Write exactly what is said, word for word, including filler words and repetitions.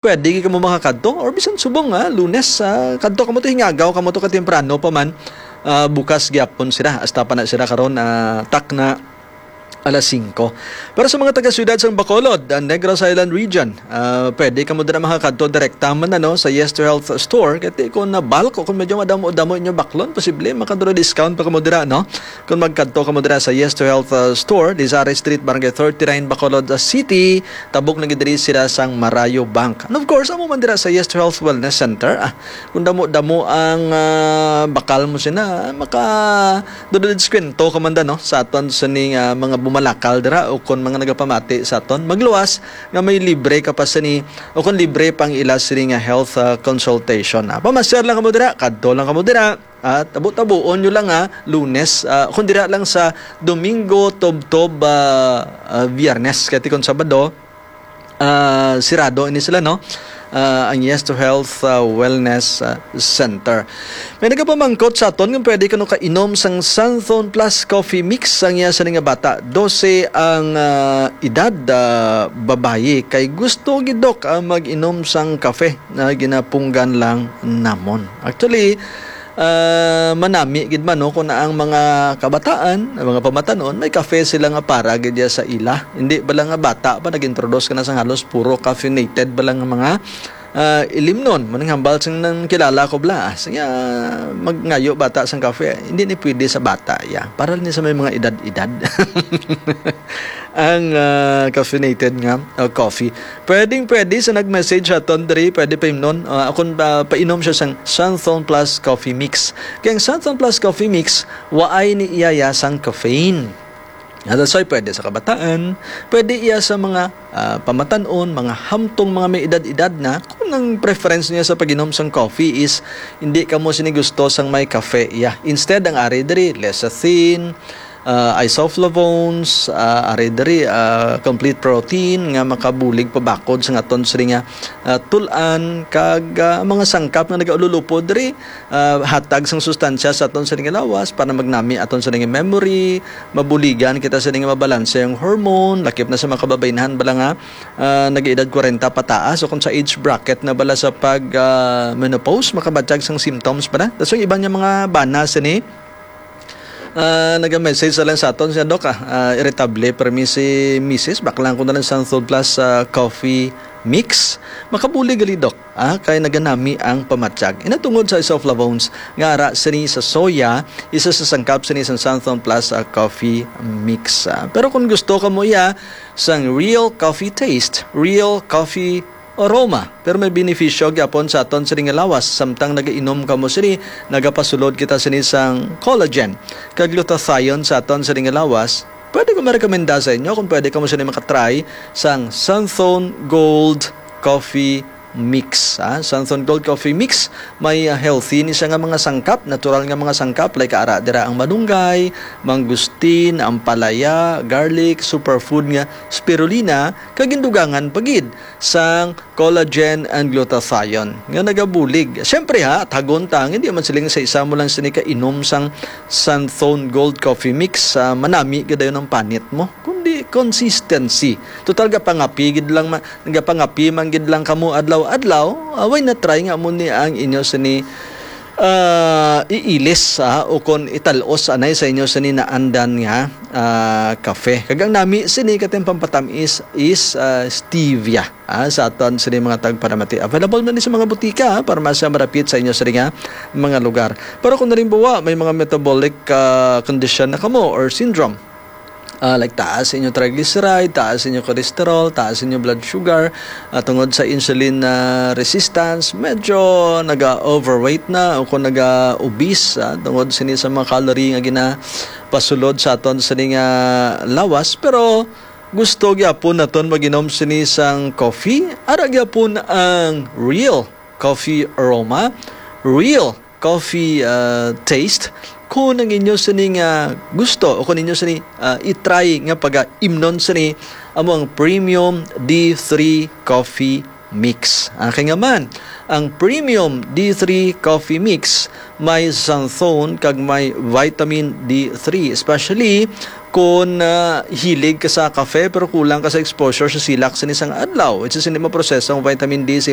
pwede kamo makakadto, or bisan subong, ah, Lunes, ah, kadto kamo to, hingagaw kamo to katemprano pa man. Ah, bukas gyapon sila, hasta pa na sila karon, ah, takna alas singko. Pero sa mga taga-siyudad sang Bacolod, ang Negros Island Region, ah, pwede kamo dira makakadto direkta man, ano, sa Yes to Health Store. Kaya kung na bulk o kung medyo madamo-damo inyo baklon, posible makadura discount pa kamo dira, no? Kung magkadto kamo dira sa Yes to Health, ah, Store, Lizari Street, Barangay thirty-nine, Bacolod, ah, City, tabok na gid diri sila sang Marayo Bank. And of course, amo man dira sa Yes to Health Wellness Center. Ah, kung damo-damo ang, ah, bakal mo sina, maka dududiskwento ka man da, no, sa aton sining, ah, mga bumalakal dira o kon mga nagapamati sa aton. Magluwas nga may libre ka pa sini o kon libre pang ila sini nga health, ah, consultation. Ah, pamasyar lang kamo dira, kadto lang kamo dira. Ah, tabo-tabuon nyo lang, ah, Lunes, ah, kung dira lang sa Domingo, tubtob, ah, ah, Biyernes, kaya kon Sabado, ah, sirado ini sila, no? Ah, ang Yes to Health, ah, Wellness, ah, Center. May nagapamangkot sa aton kung pwede kano kainom sang Santhon Plus Coffee Mix ang iya sini nga bata, dose ang, ah, edad, ah, babayi, kay gusto gid, Doc, ah, mag-inom sang kafe na ginapunggan lang namon. Actually, ah, manami gid man, no, kung ang mga kabataan, ang mga pamatanon, may kafe sila nga para gid ya sa ila. Hindi bala nga bata pa nag-introduce ka na sang halos puro caffeinated bala nga mga, ah, ilimnon. Maning hambal sing nang kilala ko bala. Ah, siya, magngayo bata sang kafe. Hindi ni pwede sa bata, ya. Para ni sa may mga edad-edad. Ang, ah, caffeinated nga, ah, coffee. Pwedeng pwede sa nag-message sa aton diri, pwede pa imnon. Ah, akon, ah, painom siya sang Santhon Plus Coffee Mix. Kay ang Santhon Plus Coffee Mix, waay ni iya ya sang caffeine. Ah, that's why pwede sa kabataan, pwede iya sa mga, ah, pamatanon, mga hamtong, mga may edad-edad na. Kung ang preference niya sa pag-inom sang coffee is hindi kamo sini gusto sang may kafe, iya. Instead, ang ari diri, lecithin, ah, isoflavones, ah, ari diri, ah, complete protein nga makabulig pabakod sa aton sini nga, ah, tul-an, kag, ah, mga sangkap nga nagaululupod diri, ah, hatag sang sustansya sa aton sini nga lawas para magnami aton sini nga memory, mabuligan kita sini nga mabalanse ang hormone, lakip na sa mga kababaynhan bala nga, ah, nag-edad kwarenta pataas o kung sa age bracket na bala sa pag, ah, menopause, makabatyag sang symptoms bala. Tapos yung iban nga mga bana sini, ah, naga-message na lang sa aton siya, Doc, ah, ah, irritable, pero mi si Misis, baklang ko na lang sang Third Plus, ah, Coffee Mix. Makabulig gali, Doc, ah, kay naganami ang pamatyag. Ina tungod sa isoflavones nga ara sini sa soya, isa sa sangkap sini sa Santhon Plus, ah, Coffee Mix. Ah, pero kung gusto ka mo iya sang real coffee taste, real coffee aroma, pero may benepisyo gyapon sa aton sini nga lawas. Samtang nagainom kamo sini, nagapasulod kita sini sang collagen kag glutathione sa aton sini nga lawas. Pwede ko marekomenda sa inyo kung pwede kamo sini makatry sang Santhon Gold Coffee Mix, ah. Santhon Gold Coffee Mix, may, ah, healthy ni siya nga mga sangkap, natural nga mga sangkap, like ara dira ang malunggay, mangustin, ampalaya, garlic, superfood nga spirulina, kag gindugangan pa gid sang collagen and glutathione nga nagabulig. Siyempre ha, tagon ta, hindi man siling sa isa mo lang sini kainom sang Santhon Gold Coffee Mix, ah, manami gid dayon ang panit mo. Kundi consistency. Total, gapangapi gid lang ma-, gapangapi man gid lang kamo adlaw-adlaw. Ah, why not try nga mo ni ang inyo sini, ah, iilis, ah, o kon ital-os anay sa inyo sini naandan nga, ah, kafe. Kag ang nami sini katong pampatamis is, ah, stevia, ah, sa aton sini mga tagpanamati. Available man ni sa mga butika, ah, para mas marapit sa inyo sini nga mga lugar. Pero kung halimbawa, may mga metabolic, ah, condition na kamo or syndrome, ah, like taas inyo triglyceride, taas inyo cholesterol, taas inyo blood sugar, ah, tungod sa insulin, ah, resistance, medyo naga-overweight na o kung naga-obese, ah, tungod sini sa mga calorie nga ginapasulod sa aton sini nga lawas. Pero gusto gyapon naton mag-inom sini sang coffee, ara gyapon ang real coffee aroma, real coffee, ah, taste. Kung ang inyo sini nga gusto o kung inyo sini, ah, i-try nga pag-imnon sini, amo ang Premium D three Coffee Mix. Ah, kay nga man, ang Premium D three Coffee Mix may xanthone kag may vitamin D three, especially Kung ah, hilig ka sa kafe pero kulang ka sa exposure sa silak sa isang adlaw, it's hindi maproseso ang vitamin D sa